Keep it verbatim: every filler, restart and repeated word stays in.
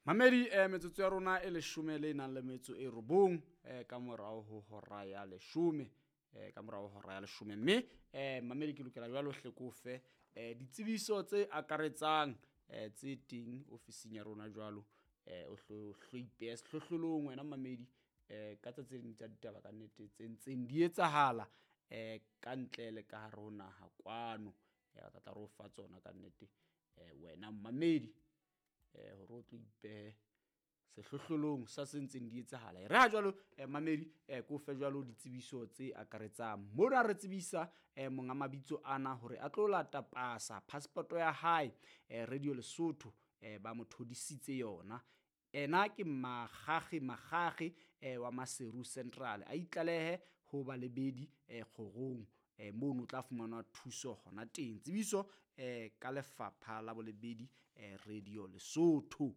Mamedi, eh, metsotso ya rona e leshome le nang le metso e robong eh, ka morao ho hora ya leshome, eh, ka morao ho hora ya leshome. Mme eh, mamedi, ke lokela jwalo hle ko fe eh, ditsebiso tse akaretsang eh, tse teng ofising ya rona jwalo, eh, o hlo hlo ipehe sehlohlolong wena mamedi, eh, ka tsa tse ding tsa ditaba ka nnete tse ntseng di etsahala eh, ka ntle le ka hare ho naha kwano. Eh, re tla tla re o fa tsona ka nnete eh, wena mamedi, eh, hore o tlo ipehe sehlohlolong sa se ntseng di etsahala. E re ha jwalo eh, mamedi, eh, ko fe jwalo ditsebiso tse akaretsang. Mona re tsebisa eh, monga mabitso ana hore a tlo lata pasa passport ya hae, eh, Radio Lesotho eh, ba mo thodisitse yona. Ena ke Makgakge Makgakge eh, wa Maseru Central, a itlalehe ho balebedi eh, kgorong eh, mono o tla fumana thuso hona teng. Tsebiso eh, ka lefapha la bolebedi eh, Radio Lesotho.